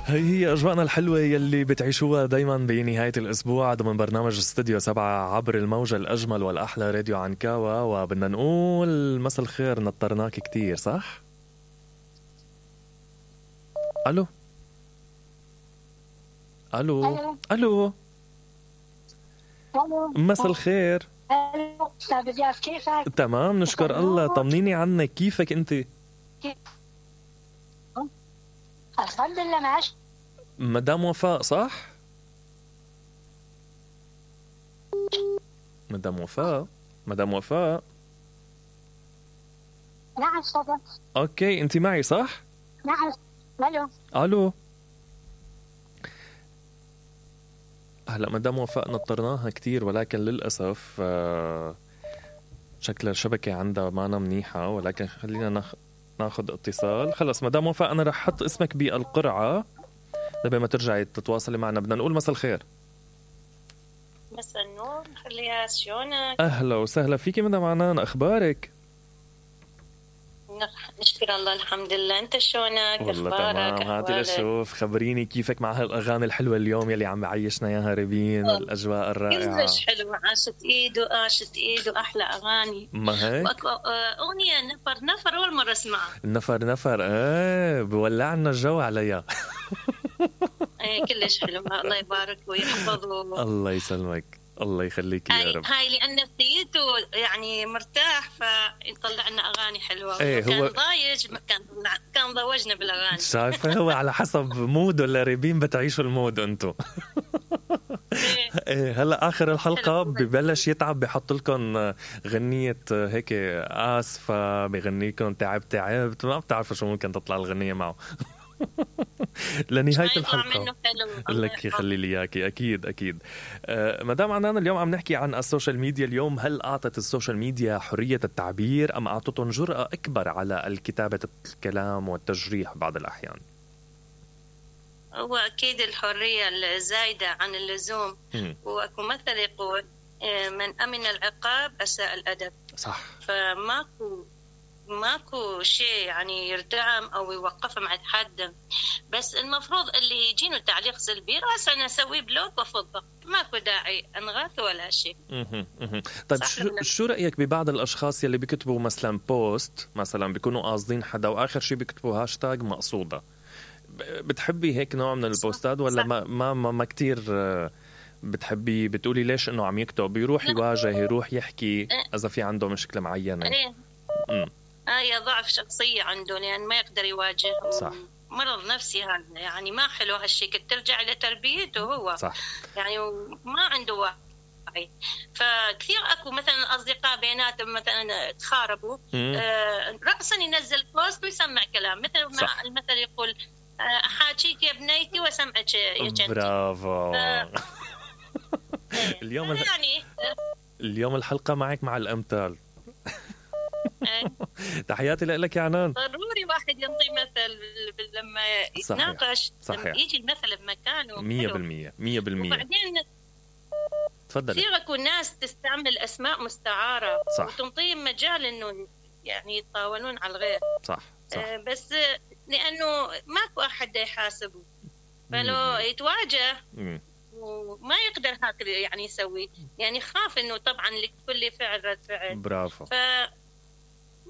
هي أجواءنا الحلوة يلي بتعيشوها دايما بنهاية الأسبوع ضمن برنامج استوديو 7 عبر الموجة الأجمل والأحلى راديو عنكاوة. وبدنا نقول مساء الخير، نطرناك كتير صح؟ ألو ألو ألو مساء الخير. أستاذ إلياس كيفك؟ تمام نشكر الله، طمنيني عنك، كيفك أنت؟ الحمد لله ماشي. مدام وفاء صح؟ مدام وفاء نعم صدق. اوكي انت معي صح؟ نعم. الو هلا مدام وفاء نطرناها كتير، ولكن للأسف شكل الشبكة عندها معنا منيحة، ولكن خلينا ناخد اتصال. خلص مدام وفاء أنا رح حط اسمك بالقرعة لبين ما ترجعي تتواصلي معنا. بدنا نقول مساء الخير. مساء النور خليها، شلونك؟ أهلا وسهلا فيكي مدام عنان، أخبارك؟ نشكر الله الحمد لله، أنت شلونك؟ والله تمام. هاتي لشوف، خبريني كيفك مع هالأغاني الحلوة اليوم يلي عم بعيشنا ياها ريبين والأجواء الرائعة. كلش حلو، عاشت إيد وأحلى أغاني. ما هيك؟ أغنية نفر أول مرة اسمعها. نفر بولعنا الجو عليها. كلش حلو، الله يبارك ويحفظه. الله يسلمك، الله يخليك يا رب. هاي لأن نفسيته يعني مرتاح فيطلع لنا أغاني حلوة. كان ضايج كان ضوجنا بالأغاني. شايفة هو على حسب مود ولا ريبين بتعيشوا المود أنتو. هلا آخر الحلقة ببلش يتعب، بحط لكم غنية هيك آسفة، بغنيكم تعبت ما بتعرفوا شو ممكن تطلع الغنية معه. لنهاية الحلقة لك يخلي لي إياكي. أكيد. مدام عنان، اليوم عم نحكي عن السوشيال ميديا. اليوم هل أعطت السوشيال ميديا حرية التعبير أم أعطتهم جرأة أكبر على الكتابة الكلام والتجريح بعض الأحيان؟ هو أكيد الحرية الزايدة عن اللزوم، وأكو مثل يقول من أمن العقاب أساء الأدب. صح. ماكو شيء يعني يردعم أو يوقفهم عند حد، بس المفروض اللي يجينه تعليق سلبي رأس أنا أسوي بلوك وفضة، ماكو داعي أنغاث ولا شيء. طيب شو رأيك ببعض الأشخاص يلي بيكتبوا مثلا بوست، مثلا بيكونوا قاصدين حدا وآخر شيء بيكتبوا هاشتاج مقصودة؟ بتحبي هيك نوع من البوستات ولا ما كتير بتحبي؟ بتقولي ليش إنه عم يكتب، يروح يواجه، يروح يحكي إذا في عنده مشكلة معينة. هي ضعف شخصية عنده، لأن ما يقدر يواجه. صح. مرض نفسي هذا، يعني ما حلو هالشيء، ترجع لتربيته هو. صح. يعني ما عنده وعي. فكثير أكو مثلا أصدقاء بيناتهم مثلا تخاربوا، رأسا ينزل بوست ويسمع كلام، مثل ما المثل يقول أحاكيك يا بنيتي وسمعك يا جنتي. برافو. اليوم الحلقة معك مع الأمثال. تحياتي لك يا عنان. ضروري واحد ينطي مثل لما يتناقش. صحيح. لما يجي المثل بمكانه 100%. وبعدين تفضل. كثير اكو ناس تستعمل اسماء مستعارة. صح. وتنطيهم مجال انه يعني يتطاولون على الغير. صح. بس لانه ماكو احد يحاسبه، فلو يتواجه وما يقدر هكذا يعني يسوي، يعني خاف انه طبعا لكل فعل رد فعل. برافو.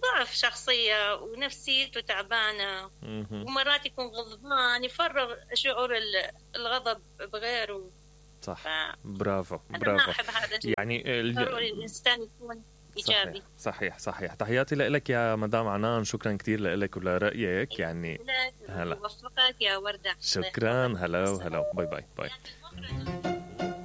ضعف شخصية ونفسيته تعبانة، ومرات يكون غضبان يفرغ شعور الغضب بغيره. صح. برافو. أنا ما أحب هذا يعني ضروري الإنسان يكون إيجابي. صحيح. تحياتي لك يا مدام عنان، شكرا كتير لك ولرأيك. يعني هلا وفقك يا وردة. شكرا. هلا باي.